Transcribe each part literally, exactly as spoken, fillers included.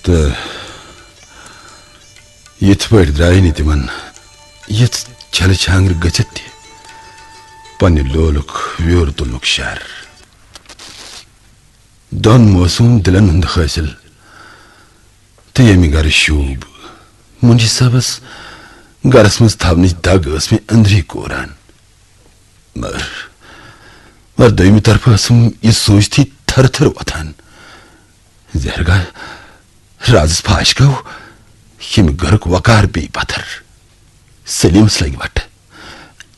تہٕ یِتھ پٲٹھۍ درٛاے نہٕ تِمن یِژھ چھلہٕ چھانٛگرٕ گٔژھِتھ تہِ پننہِ لولُک ویوٚر تُلنُک شر۔ دۄن موسوم دِلن ہُنٛد حٲصِل تہٕ ییٚمہِ گرٕ شوٗب۔ مُنشی صٲبس گرس منٛز تھاونٕچ دگ ٲس مےٚ أنٛدری کوران۔ مگر، مگر دوٚیمہِ طرفہٕ ٲسٕم یہِ سوٗنٛچتھٕے تھرٕ تھرٕ وۄتھان زِ ہرگاہ رازس پھاش گوٚو، ییٚمہِ گرُک وقار پیٚیہِ پتھر۔ سلیمس لگہِ وٹھ۔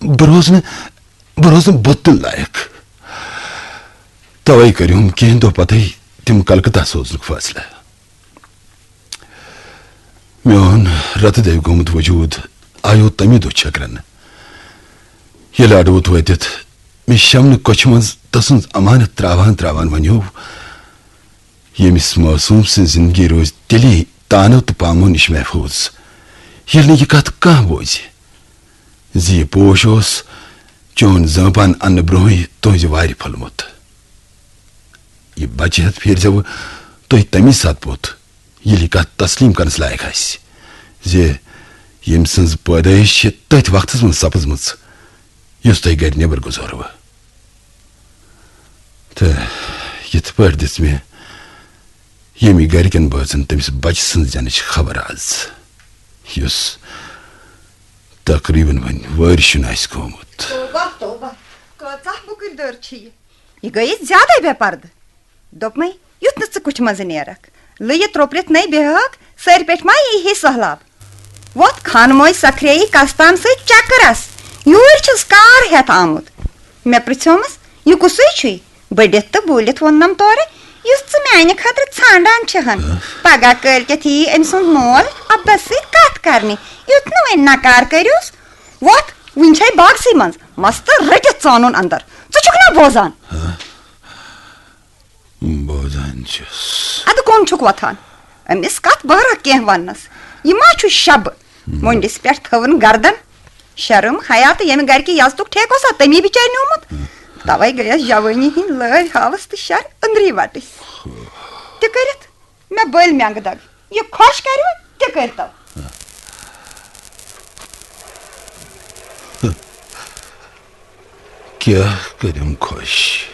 بہٕ روزٕ نہٕ، بہٕ روزٕ نہٕ بُتھ دِنہٕ لایق۔ توے کٔرِم کینٛہہ دۄہ پتھے تِم کلکتہ سوزنُک فٲصلہٕ۔ میون رتہٕ دٔوۍ گوٚمُت وجود آیو تمی دۄہ چھٔکرنہٕ۔ ییٚلہِ اڈوُت وٲتِتھ مےٚ شمنہٕ کۄچھِ منٛز تسُنٛد امانت تراوان تراوان ونیو، ییٚمِس معصوم سٕنٛز زندگی روزِ تیٚلی تانو تہٕ پامو نِش محفوظ، ییٚلہِ نہٕ یہِ کتھ کانٛہہ بوزِ زِ یہِ پوش اوس چون زٲمپان اننہٕ برونٛہٕے تُہنٛزِ وارِ پھوٚلمُت۔ یہِ بچہِ ہٮ۪تھ پھیرزیوٕ تُہۍ تمی ساتہٕ پوٚت، ییٚلہِ یہِ کتھ تسلیم کرنس لایق آسہِ زِ ییٚمۍ سٕنٛز پٲدٲیِش چھِ تٔتھۍ وقتس منٛز سپٕزمٕژ، یُس تۄہہِ گرِ نٮ۪بر گُزوروٕ۔ تہٕ یِتھ پٲٹھۍ دِژ مےٚ ییٚمہِ گرِکٮ۪ن بٲژن تٔمِس بچہِ سٕنٛز زٮ۪نٕچ خبر از، یُس تقریباً وۄنۍ وٲرۍ شُن آسہِ گوٚمُت۔ توبہ، توبہ، کۭژاہ بُکٕر دٔر چھِ یہِ۔ یہِ گٔیے زیادَے بے پردٕ۔ دوٚپمَے، یُتھ نہٕ ژٕ کُٹھِ منٛزٕ نیرَکھ۔ لٔیِتھ ترٛوپرِتھ نَے بیٚہَکھ، سٲرۍ پٮ۪ٹھ ما یی ہے سہلاب؟ وۄتھ خانہٕ موج سکھرییہِ کستام سۭتۍ چکرس۔ یوٗرۍ چھُس کار ہٮ۪تھ آمُت۔ مےٚ پرٛژھیومس، "یہِ کُسُے چھُے؟" بٔڈِتھ تہٕ بوٗلِتھ ووٚننم تورٕ، "یُس ژٕ میانہِ خٲطرٕ ژھانڈان چھِ ہن۔ پگاہ کٲلۍ کٮ۪تھ یِیہِ أمۍ سُنٛد مول عبدس سۭتۍ کتھ کرنہِ۔ یُتھ نہٕ وۄنۍ نکار کٔرِوس۔ وۄتھ، وُنہِ چھے باغسٕے منٛز، مستہٕ رٔٹِتھ ژانُن اندر۔ ژٕ چھُکھ نا بوزان؟" بوزان چھُس۔ ادٕ کُن چھُکھ وۄتھان؟ أمِس کتھ بہرا کینٛہہ وننس؟ یہِ ما چھُ شبہٕ؟ مۄنڈِس پٮ۪ٹھ تھٲوٕن گردن۔ شرم حیا تہٕ ییٚمہِ گرِ کہِ یزتُک ٹھیکہٕ اوسا تٔمی بِچارِ نیوٗمُت؟ توے گٔیس جوٲنی ہٕنٛدۍ لٲرۍ ہاوس تہٕ شر أنٛدری وٹٕسۍ۔ تہِ کٔرِتھ مےٚ بٔلۍ مٮ۪نٛگہٕ دگ۔ یہِ خۄش کَرِوٕ، تہِ کٔرۍتو۔ کیٛاہ کٔرِم خۄش؟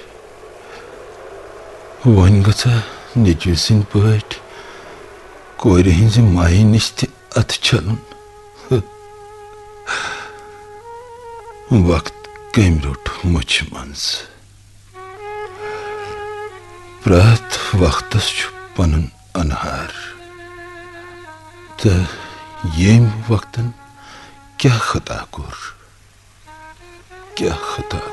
وۄنۍ گژھا نیٚچوِ سٕنٛدۍ پٲٹھۍ کورِ ہٕنٛزِ مایہِ نِش تہِ اَتھٕ چھَلُن؟ وقت کٔمۍ روٚٹ مُچھِ منٛز؟ پرٛٮ۪تھ وقتس چھُ پنُن انہار۔ تہٕ ییٚمۍ وقتن کیٛاہ خطا کوٚر؟ کیٛاہ خطا؟